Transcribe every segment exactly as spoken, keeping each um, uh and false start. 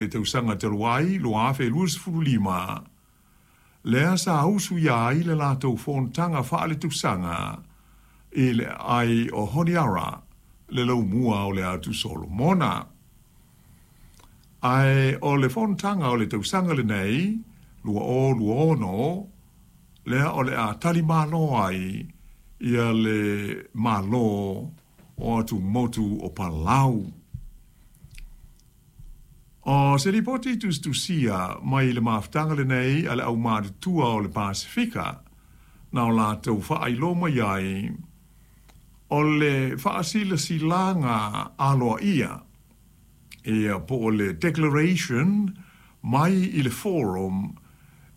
Le tausaga talu ai lua afe luasefulu lima, lea sa usuia ai le latou fonotaga faaletausaga i le aai o Honiara, le laumua o le Atu Solomona. Ae o le fonotaga o le tausaga lenei, lua o lua ono, lea o le a talimalo ai ia le Malo o Atumotu o Palau. O se lipoti tusitusia mai le mafutaga lenei a le aumatutua o le Pasefika, na o latou faailoa mai ai, o le faasilasilaga aloaia, ia po o le declaration mai i le forum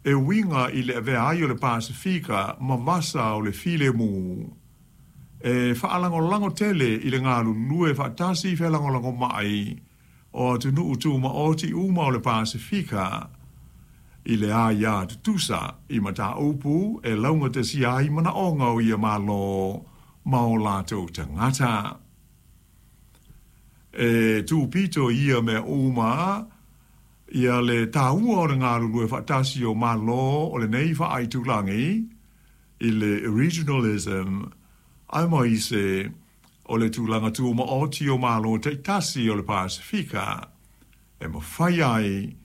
e uiga i le avea ai o le Pasefika ma vasa o le filemu, e faalagolago tele i le galulue faatasi felagolagomai o atunuu tumaoti uma o le Pasefika i le aia tutusa i mataupu e laugatasia ai manaoga o ia Malo ma o latou tagata. E tupito ia mea uma ia le taua o le galulue faatasi o Malo o lenei faaitulagi i le regionalism, aemaise o le tulaga tumaoti o Malo taitasi o le Pasefika e mafai ai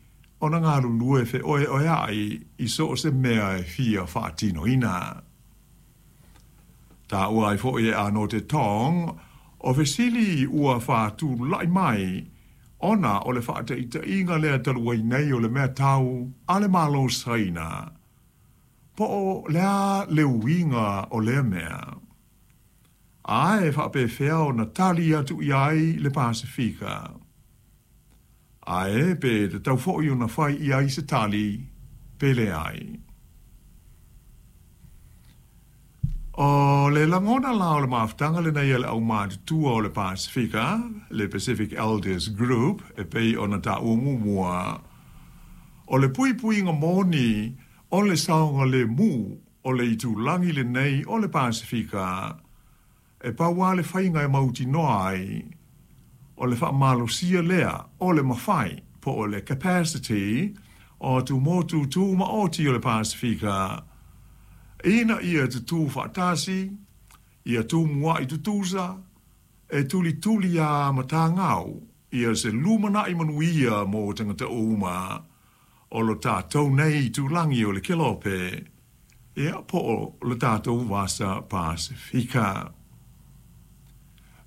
ona galulue feoeoeai i so o se mea e fia faatinoina. Taua ai foi e Anote Tong, o fesili ua faatulai mai ona o le faataitaiga lea talu ai nei o le mea tau a le Malo Saina, po o le a le uiga o lea mea, ae faapefea ona tali atu i ai le Pasefika, ae pe tatau foi ona fai i ai se tali pe leai. O le lagona la o le mafutaga lenei a le aumatutua o le Pasefika, le Pacific Elders Group, e pei ona taua muamua, o le puipuiga moni o le saogalemu o le itulagi lenei o le Pasefika, e pau lava le faiga e mautinoa ai, o le faamalosia lea o le mafai po o le capacity o atumotu tumaoti o le Pasefika, ina ia tutū faatasi, ia tumuai tutusa, e tulituli a matagau, ia se lumanai manuia mo tagata uma o lo tatou nei itulagi o le Kelope, ia po o le tatou vasa Pasefika.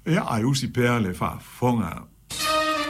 Ia, ae usi pea le faafofoga.